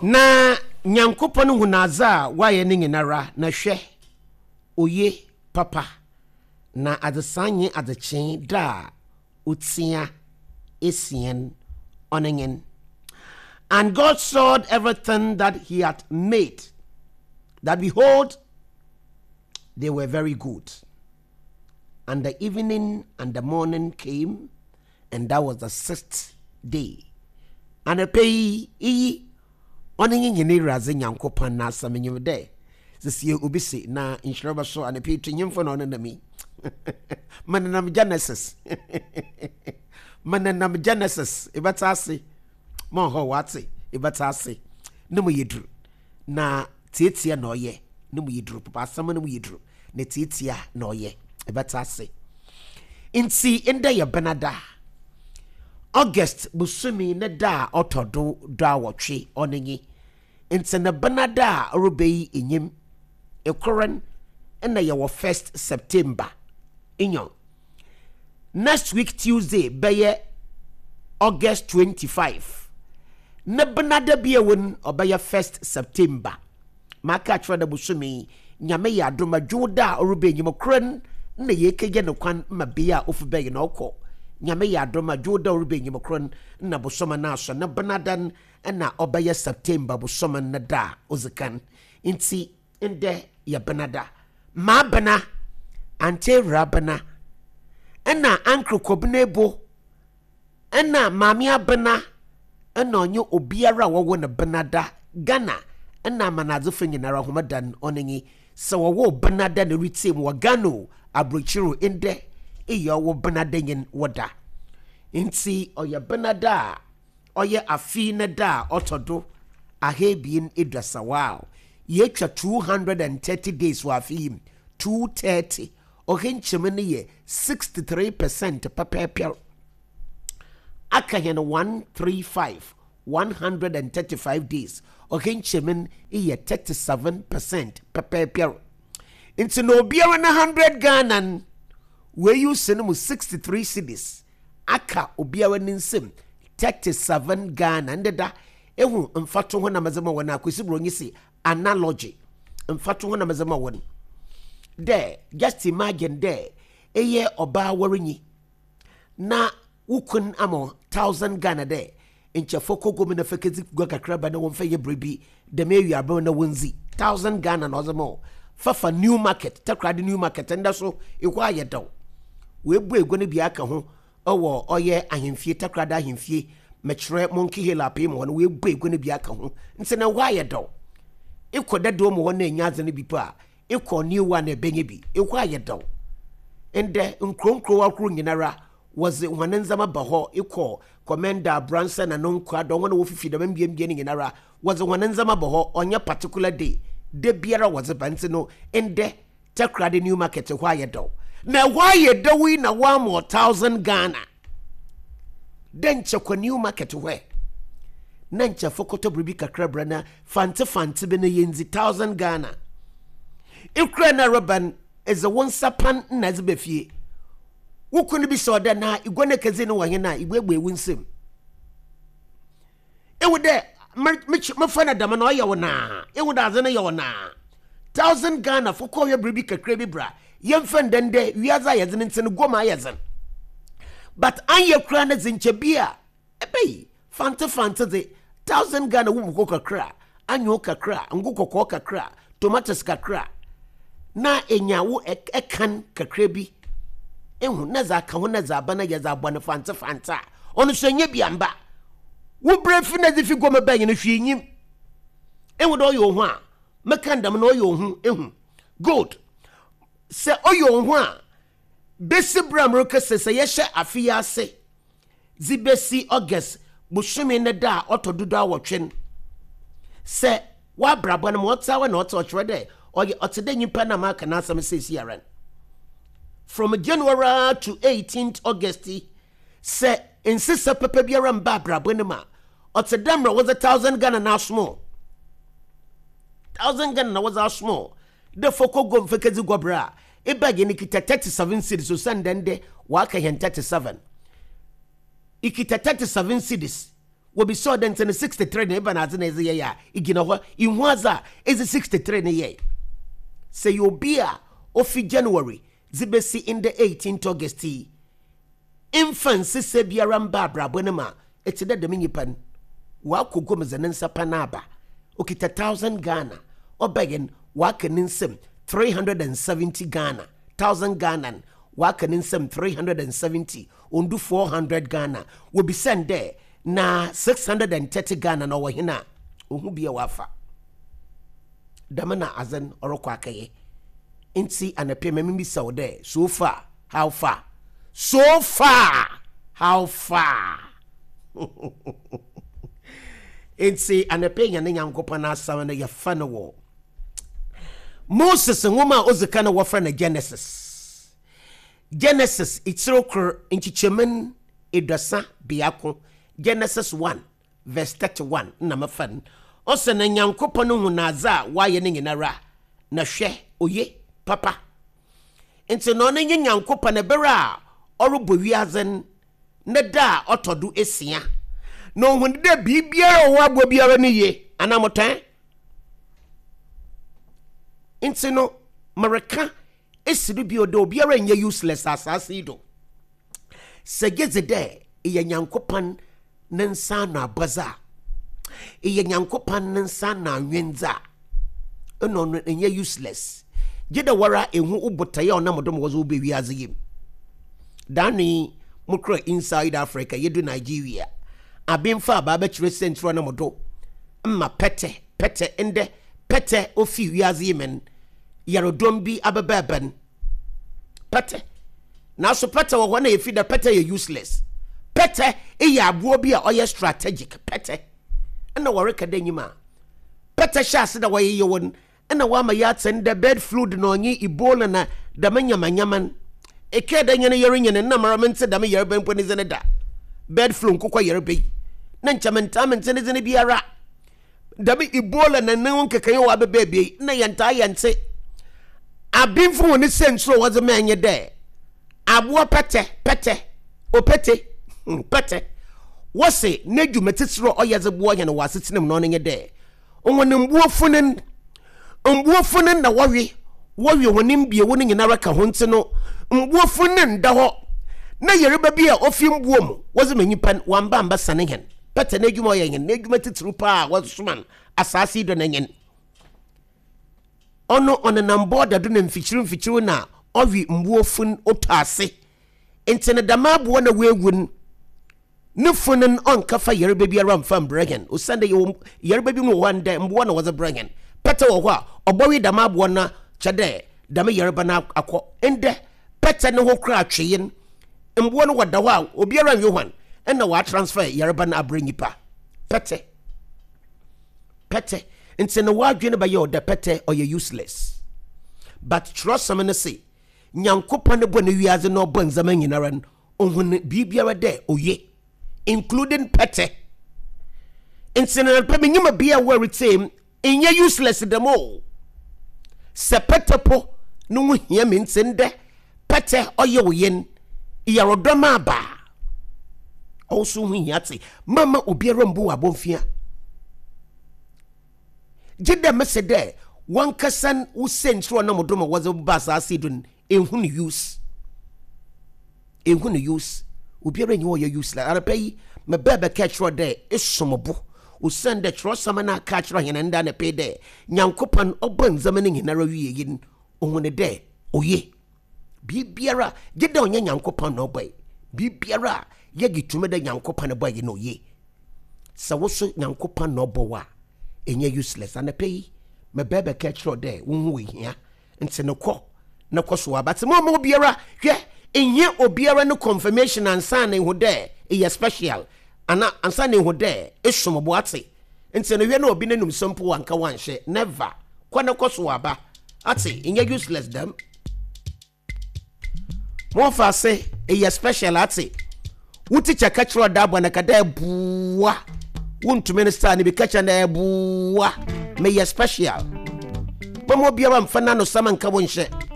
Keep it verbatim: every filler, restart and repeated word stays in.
Na Nyankopɔn hu n'adze a wayɛ no nyinara, na hwɛ, oye papa. Na adzesaa nye adzekyee da a otsia esien ɔno nyen. And God saw everything that he had made, that behold, they were very good. And the evening and the morning came, and that was the sixth day. Anɔpa yi, iyi ɔno nye hɛn Ewuradze Nyankopɔn n'asɛm. Nyim dɛ sesie obi se na nhyira bɛso anɔpa yi to nyimfo na ɔnenam yi. Menenam Genesis, menenam Genesis. Ebɛtse ase ma ɔhɔ wate, ebɛtse ase ne mu yɛ duru na tietia na ɔyɛ ne mu yɛ duru papa. Asɛm no mu yɛ duru na tietia na ɔyɛ, ebɛtse ase. Nti ndɛ yɛ Benada, August bosome ne da a ɔtɔ do do awɔtwe ɔno nye. Nti ne Benada a ɔrebɛyi enyim ekoren ɛna yɛwɔ first September inyo. Next week Tuesday bɛyɛ August twenty-five. Ne Benada bi a ɛwɔ no ɔbɛyɛ first September. Maka akyerɛ dɛ bosome, Nyame yɛ adom, adwo da a ɔrebɛ enyim koren na yɛkɛgye ne kwan ma bea a ofi bɛyɛ na ɔkɔ. Nyame yɛ adom, adwo da a ɔrebɛ enyim koren na bosome no aso ne Benada no ɛna ɔbɛyɛ September bosome no da a odzi kan. Nti ndɛ yɛ Benada. Maa bena ante awura bena ɛna ankere kɔbena ebo ɛna maame abena ɛna ɔnye obiara a wɔwɔ ne Benada Ghana ɛna amanadzefo nyinara homeda no ɔno nye. Sɛ wɔwɔ Benada na retie mu wɔ Ghana o, aburokyire o, ndɛ eyɛ ɔwɔ Benada nyin wɔda. Nti ɔyɛ Benada a ɔyɛ afi ne da a ɔtɔ do ahaebien eduasa. Wow, yɛatwa two hundred and thirty days wɔ afi yi mu. Two thirty ɔhɛ nkyɛmu no yɛ sixty three percent pɛpɛɛpɛ. Aka hɛn one three five, one hundred and thirty five days. Ɔhɛ nkyɛmu no yɛ thirty seven percent pɛpɛɛpɛ. Nti na obiara na hundred Ghana no wɔayi si no mu sixty three cedis, aka obiara ne nsam thirty seven Ghana. Ndeda ehu mfato ho na mɛdze ma wɔn akwesi buronyi si analogy mfato ho na mɛdze ma wɔn dɛ just imagine dɛ ɛyɛ ɔbaa wɔrenyi na wokun ama thousand Ghana dɛ nkyɛfo kɔ mu na fɛ kedzi gua kakra ba na wɔmfa yɛ biribi dɛm ewi abɛn na wɔndzi. Thousand Ghana na ɔdze ma wo fafa New Market, Takoradi New Market. Ndɛ so ehɔ ayɛ dɛw, woebu egua no bi aka ho ɛwɔ ɔyɛ ahemfie, Takoradi ahemfie, mɛkyerɛ Monkey Hill apee mu hɔ no, woebu egua no bi aka ho. Nti na ɛhɔ ayɛ dɛw. Ekɔ dɛdɛw mu hɔ na enya adze no bi po a, ekɔ New One na ɛbɛnya bi. Ehɔ ayɛ dɛw. Ndɛ nkuro nkuro ahorow nyinara wɔdze hɔn ndzɛmba ba hɔ. Ekɔ Komenda, Abransa na no nkɔ adɔ wɔn a wɔfifi dɛm mbiambia no nyinara wɔdze hɔn ndzɛmba ba hɔ. Ɔnyɛ particular day de biara wɔdze ba. Nti no ndɛ Takoradi New Market hɔ ayɛ dɛw. Na ɛhɔ ayɛ dɛw yi na wɔama thousand Ghana dɛ nkyɛ kɔ New Market hɔ na nkyɛ fɔkɔtɔ biribi kakra bra na fante fante bi na yɛndzi. Thousand Ghana ekura na reba no, ɛdze wo nsa pan na ɛdze ba fie. Wo kunu bi sɛ ɔdɛ na igua no kɛdze no wɔ hen a ibuebue wo nsam ewu dɛ mefa no dɛm na ɔyɛ wo naa. Ewu dɛ adze no yɛ wo naa. Thousand Ghana fɔkɔ yɛ biribi kakra bi bra yɛmfa ndɛndɛ wiadze a yɛdze no nti no guom ayɛ dzen, but anyɛ kura no dze nkyɛ bi a ɛbɛyi fante fante dze thousand Ghana wo mu kɔ kakra, anyo kakra, ngo kɔkɔɔ kakra, tomatoes kakra na enya wo ɛkan kakra bi ehu na dze aka ho na dze aba na yɛ dze abɔ no fante fante a ɔno nso enye bi amba. Wo brɛ fi na dze fi guom bɛn no hwee nyim. Ehu dɛ ɔyɛ ohun a mɛka ndɛm na ɔyɛ ohun. Ehu good sɛ ɔyɛ ohun a besi bere a mmerɛ sɛ yɛhyɛ afe yi ase dze besi August bosome ne da a ɔtɔ dodo awɔtwe no, sɛ wabrabɔ no ma ɔte awa na ɔte ɔkyerɛ dɛ ɔyɛ ɔte dɛ nyimpa na maka n'asɛm seesi ara no, from January to eighteenth August yi, sɛ nsesa pɛpɛ biara mba abrabɔ no mu a, ɔte dɛ mmerɛ wɔdze thousand Ghana na asomo. Thousand Ghana na wɔdze asomo dɛ fɔkɔ gom fɛkɛdzi gɔbrɛ a eba yɛ no kita thirty seven cedis o sɛn dɛn dɛ waka hɛn thirty seven, ikita thirty seven cedis. Wɔbisa ɔdɛ nti no sixty-three na eba na adze na ɛdze yɛ a egyina hɔ ihu adze a ɛdze sixty-three ne yɛ. Sɛ yɛ obi a ofi January dze besi in the eighteenth August yi mfa nsesa biara mba abrabɔ no ma ɛte dɛ dɛm nyipa no wakɔ guam dze ne nsa pa no aba okita thousand Ghana ɔbɛyɛ waka ne nsam three hundred and seventy Ghana thousand Ghana waka ne nsam three hundred and seventy ondu four hundred Ghana wɔbisa dɛ na six hundred and thirty Ghana na ɔwɔ hena ohu bia wafa dɛm na adze no ɔrekɔ akɛyɛ nti anapɛ mɛmi bisa wo dɛ so far how far so far how far nti anapɛ nya ne Nyankopɔn asɛm no yɛfa no wɔ Moses nwoma a ɔdzi ka no wɔfrɛ no Genesis Genesis itiri kor nkyekyɛmu eduasa biako Genesis one verse thirty-one na mefa no ɔsɛ na Nyankopɔn hu n'adze a wayɛ no nyinara na hwɛ oye papa nti na ɔno nye Nyankopɔn ebere a ɔrebɔ wiadze ne da a ɔtɔ do esia na ohun dɛ biribiara a ɔwɔ aboa biara no yie anaa motɔn nti no mereka esi do bio dɛ obiara nyɛ useless asase yi do sɛ gye dze dɛ ɛyɛ Nyankopɔn ne nsa ano abɔdze a ɛyɛ Nyankopɔn ne nsa ano anwendze a ɛna ɔno ɛnyɛ useless gye dɛ wara ehu wo botaeɛ a ɔnam do ma wɔdze wo bɛ wiadze yi mu daano mokora inside Africa yɛdu Nigeria abemfa aba abɛkyerɛ sɛntiri ɔnam do mma pɛtɛ pɛtɛ ndɛ pɛtɛ ofi wiadze yi men yaredɔm bi abɛbɛɛbɛn pɛtɛ nanso pɛtɛ wɔ hɔ na yɛfi dɛ pɛtɛ yɛ useless pɛtɛ yɛ aboɔ bi a ɔyɛ strategic pɛtɛ ɛna wɔreka dɛ nyim a pɛtɛ hyɛ ase dɛ wɔyeyɛ wɔn ɛna wɔama yɛ atɛn dɛ bird flu na ɔnye Ebola na dɛm nyamanyama eke dɛ nyɛ no yɛrenyɛ no nam ara mente dɛm yɛreba mpo ne dze ne da bird flu nkokɔ yɛreba yi na nkyɛ mentaa mente ne dze ne biara dɛm Ebola na ne ho nkekaeɛ wɔ abɛbɛ ebie na yɛntaa yɛnte abemfo wɔ ne sɛntiri a wɔdze ma ɛnyɛ dɛ aboa pɛtɛ pɛtɛ opete pɛtɛ wɔse n'adwuma titiri a ɔyɛ dze boa yɛn wɔ asetena mu na ɔno nyɛ dɛ wɔn mbuo funin mbuo funin na wɔwe wɔwe wɔn mbiewo no nyinara ka ho nti no mbuo funin da hɔ na yɛreba bi a ofi mbuo mu wɔdze ma nipa wɔn amba sane yɛn pɛtɛ n'adwuma ɔyɛ yɛn n'adwuma titiri paa wɔsoma no asaase yi do na yɛn ɔno ɔnenam bɔɔda do na mfikyiri mfikyiri na ɔwe mbuo fun otɔ ase nti ne dɛm aboɔ na weewu no ne fun no ɔnka fa yareba biara mfa mbrɛ hɛn osiane dɛ yɛwɔ yareba bi mu wɔ hɔ ndɛ mboa na wɔdze brɛ hɛn pɛtɛ wɔ hɔ a ɔbɔwe dɛm aboɔ no kyɛ dɛ dɛm yareba no akɔ ndɛ pɛtɛ ne ho kora atwee no mboa no wɔda hɔ a obiara nwe hwan ɛna wɔatransfer yareba no abrɛ nipa pɛtɛ pɛtɛ nti no wɔadwene bɛyɛ ɔdɛ pɛtɛ ɔyɛ useless but twerɛsɛm no se Nyankopɔn ne bɔ ne wiadze na ɔbɔ ndzɛmba nyinara no ohun biribiara dɛ oye including pɛtɛ nti no pɛ menyim bia a wɔretie nyɛ useless dɛm o sɛ pɛtɛ po no ho hia me nti ndɛ pɛtɛ ɔyɛ wo yen yarodɔm aba ɔwo ho hia te mama obiara mbu wɔ abɔmfia gye dɛ mese dɛ wankasa wo sɛntiri ɔnam do ma wɔdze ba asase do no ehu no use ehu no use obiara nyi ɔyɛ useless arapɛ yi mebɛɛ bɛka kyerɛ dɛ esom bo osiane dɛ kyerɛwsɛm no aka kyerɛ hɛn nda ne pɛ dɛ Nyankopɔn ɔbɔ ndzɛmba no nyinara wie yi no ohun dɛ oye biribiara gye dɛ ɔnyɛ Nyankopɔn na ɔbɔe biribiara a yɛgye tumi dɛ Nyankopɔn bɔe yi na oye sɛ wo so Nyankopɔn na ɔbɔ wo a ɛnyɛ useless anapɛ yi mebɛɛ bɛka kyerɛ dɛ wo ho hia nti no kɔ na kɔ so aba te mo ma obiara hwɛ ɛnyɛ obiara no confirmation ansa na ehu dɛ ɛyɛ special ana ansa na ehu dɛ esom bo ate nti no hwɛ na obi n'anum sɛ mpo wanka wanhyɛ never kɔ na kɔ so aba ate ɛnyɛ useless dɛm mo fa ase ɛyɛ special ate wo teacher ka kyerɛ ɔda abɔ na ka dɛ ɛboa wontumi no star no bi ka kyerɛ no ɛboa meyɛ special mama obiara mfa n'ano sama nka wo nhyɛ.